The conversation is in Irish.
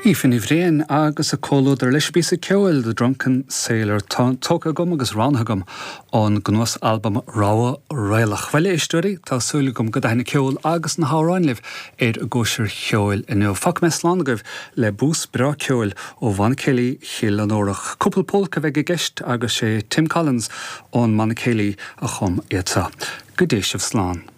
Aoife Ní Bhriain agus a comhluadar leis an bpíosa ceoil The Drunken Sailor tógtha agam agus roghnaithe agam ón gcnuas-albam Rogha Raolach. Bhuel, a éisteoirí, tá súil agam go dtaithin an ceol agus na hamhráin libh ar an gcóisir cheoil inniu. Fágfaidh mé slán agaibh le bús breá ceoil ó Bhanna Céilí Chill Fhionnúrach. Cúpla pólca a bheidh i gceist agus sé Tim Collins ón mBanna Céilí a chum iad seo. Go dté sibh slán.